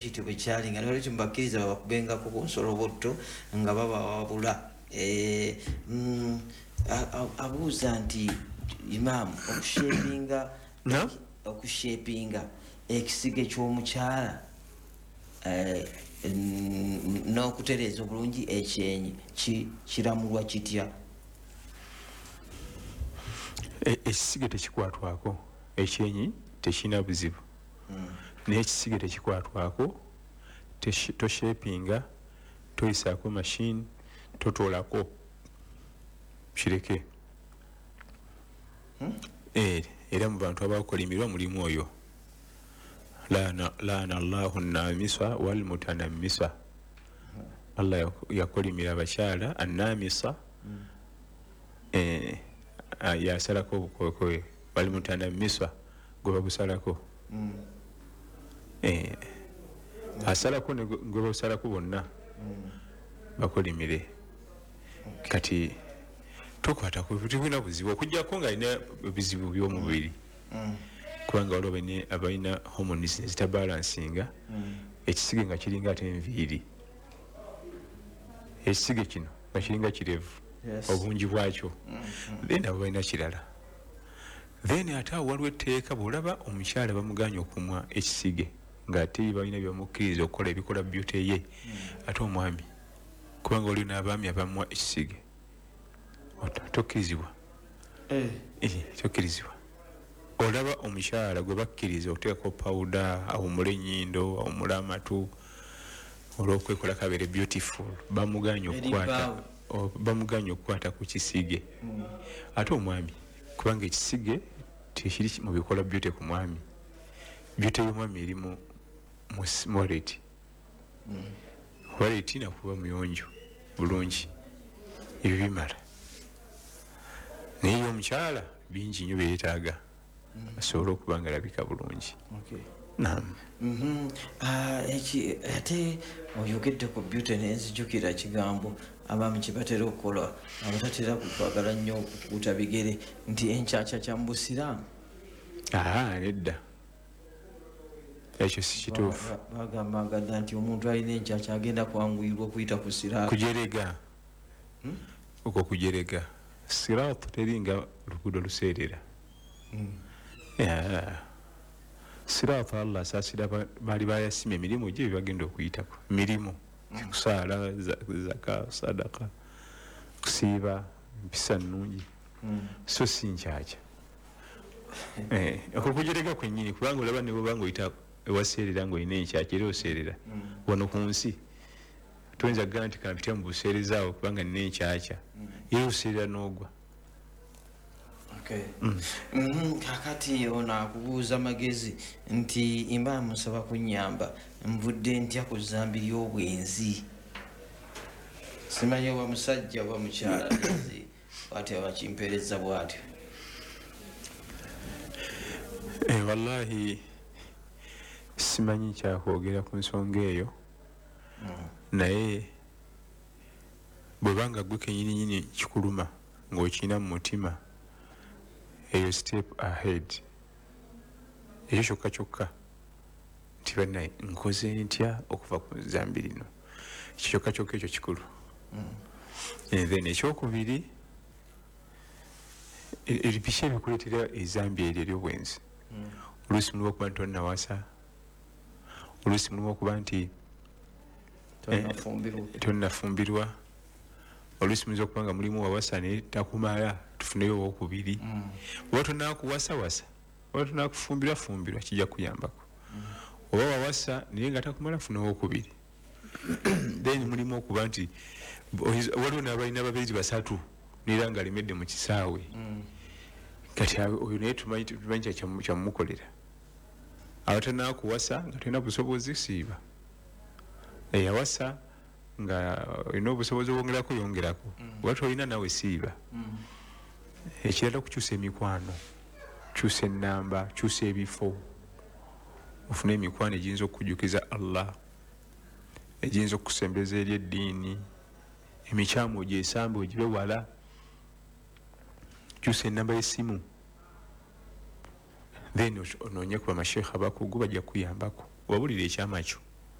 Kityo bwe kyali nga nolwekyo mubakkiriza babakubengako ku nsolobotto nga babawabula. Abuuza nti, imaamu, okushapinga No? Okushapinga ekisige ky'omukyala n'okutereeza obulungi ekyenyi kiramulwa kitya? Ekisige tekikwatwako, ekyenyi tekirina buzibu, naye ekisige tekikwatwako. Toshapinga, toyisaako machine, totoolako, kireke. Era mu bantu abakolimirwa mulimu oyo, laana llahu namisa walmutanamisa. Allah yakolimira abakyala anamisa, yasalako obukokowe, walmutanamisa gwe babusalako. Asalako ne gwe babusalako, bonna bakolimire. Kati tokwata, tebulina buzibu okujjako nga alina ebizibu by'omubiri, kubanga waliwo abalina hormones ezitabalansinga. Ekisige nga kiringa ate enviiri, ekisige kino nga kiringa kirevu obungi bwakyo, then abo balina kirala. Then ate awo waliwo etteeka, bwolaba omukyala bamuganya okumwa ekisige ngaate balina byebamukkiriza okukola ebikola beauty ye, ate omwami, kubanga waliwo n'abaami abamwa ekisige, tokkirizibwa. Tokkirizibwa. Olaba omukyala gwe bakkiriza okuteekako pawuda, awumule enyindo, awumule amatu olwokwekola kabeere beautiful, bamuganya Eri okukwata bbaawe. Bamuganya okukwata ku kisige, ate omwami, kubanga ekisige tekiri mu bikola beauty ku mwami. Beauty y'omwami eri mu wallet, wallet nakuba muyonjo bulungi, ebyo bimala. Naye ye omukyala bingi nnyo byeyetaaga asobole okuba nga alabika bulungi. Nam. Ah, ate oyogedde ku beauty nenzijukira kigambo abaami kye batera okukola, abatatera kwagala nnyo okukuuta bigere, nti enkyakya kya mu busiraamu. Aa, nedda, ekyo si kituufu. Bagambanga dda nti omuntu alina enkyakya agenda kwanguyirwa okuyita ku siraamu. Kujerega okwo, kujerega. Siraatu teringa luguudo luseerera. Yeah. Siraatu, Allah asaasira baali bayasima emirimu gye byebagenda okuyitako, mirimu kusaala, zaka, sadaka, kusiiba, mpisa nnungi, so si nkyakya. Okwo kujerega kwennyini, kubanga olaba ne bwoba nga oyita ewaseerera ngaolina enkyakya, era oseerera. Wano ku nsi toyinza kugamba nti kampite mu buseereza awo kubanga nina enkyakya, era oseerera n'ogwa. Okay. Kakati ono akubuuza magezi nti, imba musaba kunyamba, nvudde ntya ku zambi ly'obwenzi? Simanyi oba musajja oba mukyala, nzi bwatyo abakimpeereza bwatyo. Wallahi simanyi kyakwogera ku nsonga eyo, naye bwebanga gwe kenyininyini kikuluma ng'okirina mu mutima, eyo step ahead. Ekyo kyokka kyokka nti bannaye nkoze ntya okuva ku zambi lino, ekyo kyokka kyokka ekyo kikulu. And then ekyokubiri, biki ebikuleetera ezambi eryo eryobwenzi? Oluusi mulimu okuba nti tonnawasa, oluusi mulimu okuba nti Tonnafumbirwa. Tonnafumbirwa. Oluusi muyinza okuba nga mulimu wawasa naye takumala, tufuneyo owokubiri. Oba tonakuwasawasa, oba tonakufumbirwa fumbirwa, kijja kuyambako. Oba wawasa naye nga takumala, funa owokubiri. Then mulimu okuba nti waliwo n'abalina babiri basatu neera nga alemedde mu kisaawe. Kati oyo naye tumanyi kyamumukolera. Abatanakuwasa nga tolina busobozi, siiba. Eyawasa nga olina obusobozi obwongerako, yongerako. Oba tolina, nawe siiba. Ekirala, okukyusa emikwano, kyusa enamba, kyusa ebifo, ofune emikwano egiyinza okukujjukiza Allah, egiyinza okukusembeza eri eddiini. Emikyamu ogyesambe, ogibe wala. Kyusa enamba y'essimu, then onoonye ku bamasheekha abakugu, bajja kukuyambako, obabulira ekyama kyo.